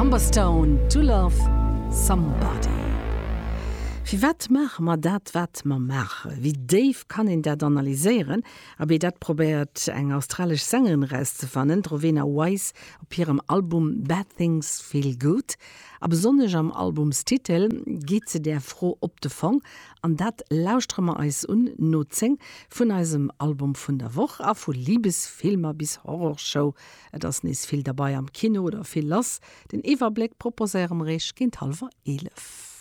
Numberstone, To Love Somebody. Firwat maache mer dat, wat mer maachen? Wéi déif kann een dat analyséieren? Abee, dat probéiert eng australesch Sängerin erauszefannen, d'Rowena Wise op hirem Album Bad Things Feel Good. A besonnesch am Albumstitel geet se där Fro op de Fong. An dat lauschtere mer eis un no 10 vun eisem Album vun der Woch. A vu Libesfilmer bis Horrorshow, et ass nees vill derbei am Kino oder vill lass. Den Iwwerbléck proposéiere mer iech géint hallwer 11.